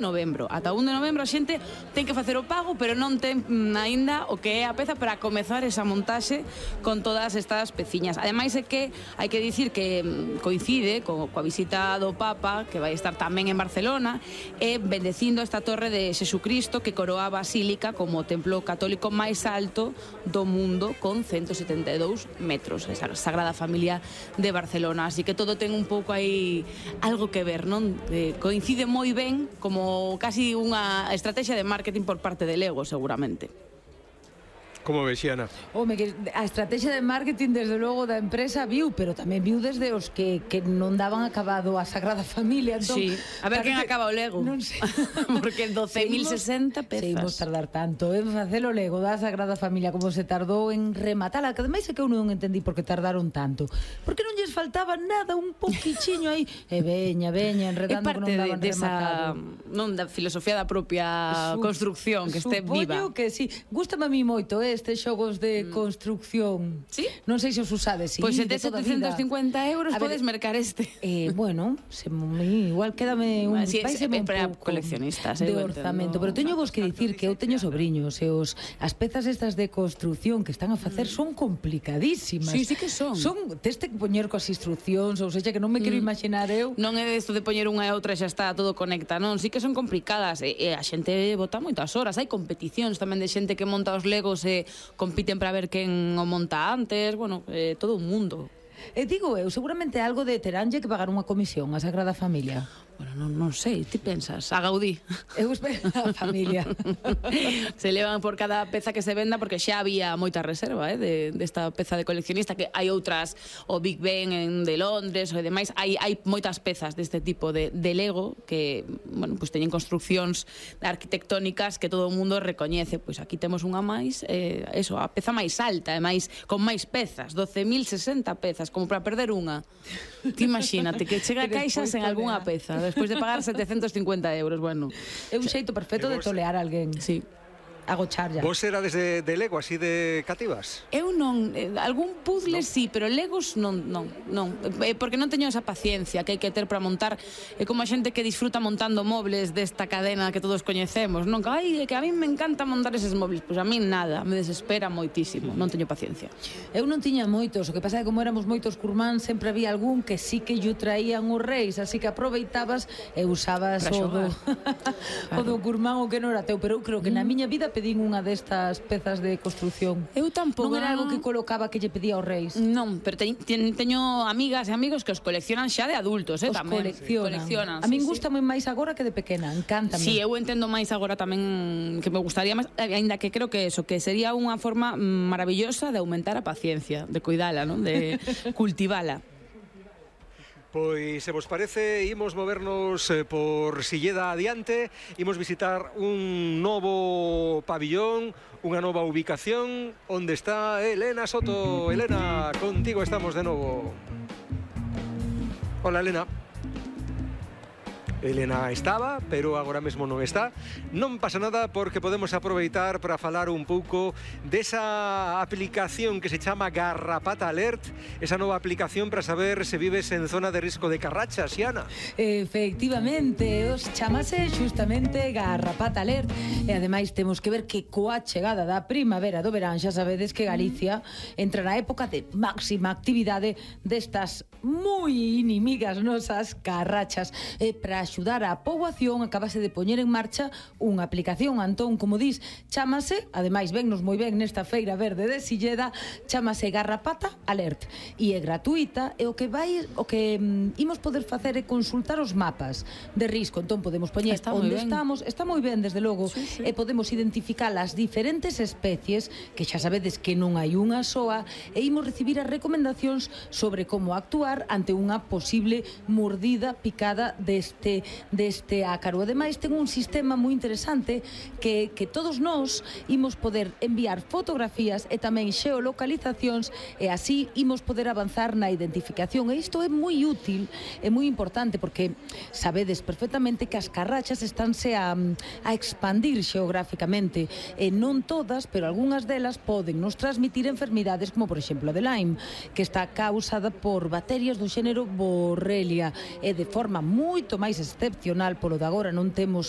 novembro. Ata 1 de novembro a xente ten que facer o pago, pero non ten aínda o que é a peza para comezar esa montaxe con todas estas peciñas. Ademais é que hai que dicir que coincide coa visita do Papa, que vai estar tamén en Barcelona, e bendecindo esta torre de Xesucristo que coroa a Basílica como o templo católico máis alto do mundo, con 172 metros, esa Sagrada Familia de Barcelona. Así que todo ten un pouco aí algo que ver, non? Coincide moi ben como casi unha estrategia de marketing por parte de Lego, seguramente. Como ves, Xiana? Home, que a estrategia de marketing desde logo da empresa viu, pero tamén viu desde os que non daban acabado a Sagrada Familia. Entón, sí, a ver quen acaba o Lego. Non sei. Porque 12.060 pezas. Seguimos tardar tanto en facer o Lego da Sagrada Familia como se tardou en rematala, que ademais é que eu non entendí por que tardaron tanto. Porque non lles faltaba nada, un poquichiño aí, e veña, enredando que non daban rematado. Non da filosofía da propia construcción, que este viva. Supoño que sí. Gústame a mí moito estes xogos de construcción. Sí? Non sei se os usades. Pois se tes 750 euros podes mercar este. Bueno, igual quédame un para coleccionistas de orzamento, pero teño vos que dicir que eu teño sobriños e as pezas estas de construción que están a facer son complicadísimas. Sí que son. Tes que poñer coas instruccións, ou seja, que non me quero imaginar eu. Non é isto de poñer unha e outra e xa está todo conecta, non, sí que son complicadas e a xente bota moitas horas. Hai competicións tamén de xente que monta os Legos e compiten para ver quen o monta antes, bueno, todo un mundo. Digo eu, seguramente algo de teránlle que pagar unha comisión a Sagrada Familia. Bueno, non sei, ti pensas, a Gaudí. Eu espero a familia. Se levan por cada peza que se venda, porque xa había moita reserva desta peza de coleccionista, que hai outras, o Big Ben de Londres, e demais, hai moitas pezas deste tipo de Lego que, bueno, pues teñen construccións arquitectónicas que todo o mundo recoñece. Pois aquí temos unha máis, a peza máis alta, e máis con máis pezas, 12.060 pezas, como para perder unha. Ti imagínate que chega a caixas en algunha peza, despois de pagar 750 euros, bueno. É un xeito perfecto de tolear a alguén. Sí. Agochar ya. Vos erades de Lego, así de cativas? Eu non, algún puzzle sí, pero Legos non, porque non teño esa paciencia que hai que ter para montar. É como a xente que disfruta montando mobles desta cadena que todos coñecemos, non? Que a mí me encanta montar eses mobles, pois a mí nada, me desespera moitísimo, non teño paciencia. Eu non tiña moitos, o que pasa é que como éramos moitos curmán, sempre había algún que sí que lle traían os reis, así que aproveitabas e usabas o do curmán o que non era teu, pero eu creo que na miña vida pedín unha destas pezas de construcción. Eu tampouco. Non era algo que colocaba que lle pedía aos reis. Non, pero teño amigas e amigos que os coleccionan xa de adultos, tamén. Coleccionan. A min gustame máis agora que de pequena, encántame. Sí, eu entendo máis agora tamén, que me gustaría máis, aínda que creo que eso, que sería unha forma maravillosa de aumentar a paciencia, de cuidala, non? De cultivala. Pois, se vos parece, imos movernos por Silleda adiante, imos visitar un novo pabillón, unha nova ubicación, onde está Elena Soto. Elena, contigo estamos de novo. Hola, Elena. Elena estaba, pero agora mesmo non está. Non pasa nada porque podemos aproveitar para falar un pouco desa aplicación que se chama Garrapata Alert, esa nova aplicación para saber se vives en zona de risco de carrachas, Xiana. Efectivamente, os chamase xustamente Garrapata Alert, e ademais temos que ver que coa chegada da primavera do verán xa sabedes que Galicia entra na época de máxima actividade destas moi inimigas nosas carrachas, e para axudar a poboación acabase de poñer en marcha unha aplicación, Antón, como dis, chamase, ademais vennos moi ben nesta feira verde de Silleda, chamase Garrapata Alert, e é gratuita, e o que imos poder facer é consultar os mapas de risco. Entón podemos poñer onde estamos, está moi ben desde logo, sí. E podemos identificar as diferentes especies, que xa sabedes que non hai unha soa, e imos recibir as recomendacións sobre como actuar ante unha posible mordida, picada deste ácaro. Ademais, ten un sistema moi interesante que todos nós imos poder enviar fotografías e tamén xeolocalizacións, e así imos poder avanzar na identificación. E isto é moi útil, é moi importante, porque sabedes perfectamente que as carrachas estánse a expandir xeográficamente, e non todas, pero algunhas delas poden nos transmitir enfermidades como, por exemplo, a de Lyme, que está causada por bacterias bacterias do xénero Borrelia e de forma moito máis excepcional, polo de agora non temos